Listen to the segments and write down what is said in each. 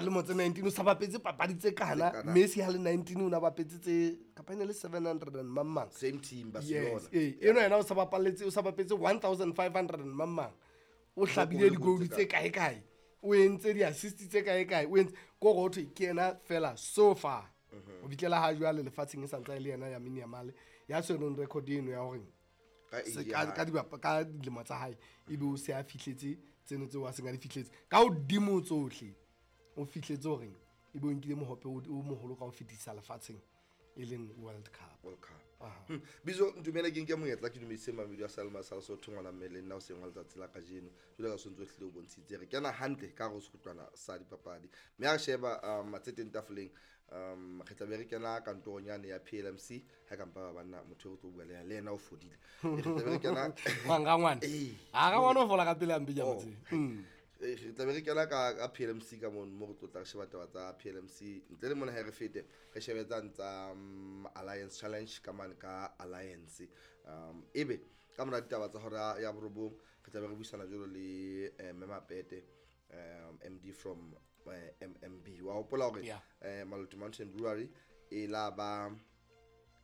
Lemo tse 19 o sa bapetse papadi tse kana. Tse kana. Messi ha le 19 o na bapetse tse kapa e ne le 700 and mang mang. Same team, Barcelona. Yes, ee, eno yena o sa bapaletse, o sa bapetse 1500 and mang mang, o hlabile Goal di-goal tse tse kae kae, o entse di-assist tse kae kae, o entse ko gore hothwe ke yena fela so far o fihlela ha jwale lefatsheng e santsa e le yena Lamine Yamal ya tshwereng record eno ya hore Ka age se ya ka hae. ka dilemo tsa hae ebe o se a fihletse tseno tseo a seng a di fihletse. Ka hodimo tsohle o fihletse hore ebe o nkile mohope o moholo ka ho fetisa lefatsheng, e leng World Cup. World Cup. Aha. Bizo ntumele ke nke monyetla ke dumedise mamedi wa Salma sa Lesotho ngwana mme le nna o seng wa letsatsi la kajeno. Jwalo ka sontso hlile o bontshitse re kena hantle ka hare ho sekgutlwana sa dipapadi. Mme ha re sheba tse teng tafoleng, re tla be re kena kantorong yane ya PLMC ha ka mpa ba banna motho eo re tlo bua le yena, le yena o fodile. Re tla be re kena Mang rangwane? Ee. Ha rangwane o fola ka pele hampe ke a mo Oh. tseba. Re tla be re kena ka PLMC ka mono, mo re tlo tla re sheba taba tsa PLMC. Ntle le mona ha re fete, re shebe tsane tsa, Alliance Challenge ka mane ka Alliance. Ebe ka mora ditaba tsa hora ya borobong, re tla be re buisana jwalo le, Mme Mapete, MD from, MMB. Wa hopola hore, Yeah. Maluti Mountain Brewery e la ba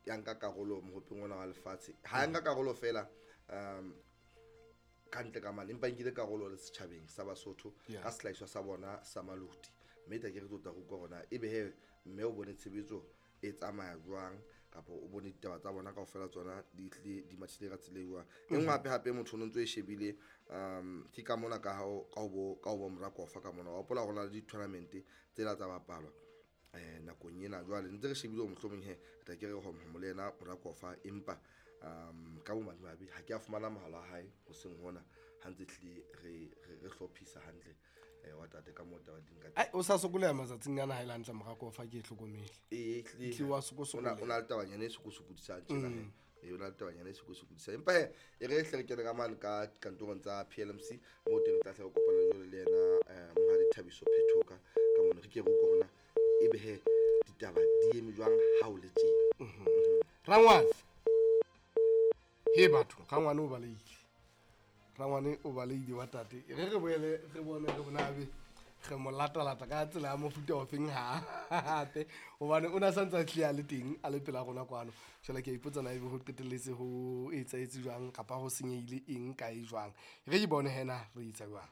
ya nka karolo mohopeng ona wa lefatshe. Ha ya nka karolo fela, ka ntle ka mane, empa nkile karolo le setjhabeng sa Basotho Yeah. ka sehlahiswa sa bona sa Maluti. Mme tla ke re tlo tla utlwa hore na ebe he mme o bone tshebetso e tsamaya jwang, kapa o bone ditaba tsa bona kaofela tsona di tlile di mathile ka tsela e jwang. E nngwe hape hape motho o no ntso e shebile, ke ka mona ka hao, ka ho bo, ka ho bo Morakofa ka mona. Wa hopola hore ho na le di-tournament tsela tsa bapalwa, nakong ena. Jwale ntse re shebile hore mohlomong he, re tla ke re ho le yena Morakofa, empa, ka bomadimabe ha ke a fumana mohala wa hae hoseng hona, ha ntse hlile re hlophisa hantle, wa tate ka moo taba di nka teng. Ai, o sa sokoleha matsatsing ana ha e le hantle Morakofa ke e hlokomele. Ee, ehlile. Ehlile wa sokosokoleha. O na le tabanyana e sokosokodisang tjena he. Ee, o na le tabanyana e sokosokodisang. Empa he, e re hle re kene ka mane ka kantorong tsa PLMC, moo teng re tla hle re kopana jwale le yena, Monghadi Thabiso Phethoka ka mono. Re ke re utlwe hore na ebe he ditaba di eme jwang ha o le tjena. Rangwane. He batho, rangwane o balehile. Rangwane o balehile wa tate. E re re boele re bone re bona ebe re mo latalata ka tsela ya mofuta ofeng hape, hobane o na santse a tlile a le teng a le pela rona kwano. Jwale ke a ipotsa na ebe ho qetelletse ho etsahetse jwang kapa ho senyehile eng kae jwang. Re ke bone hena re etsa jwang.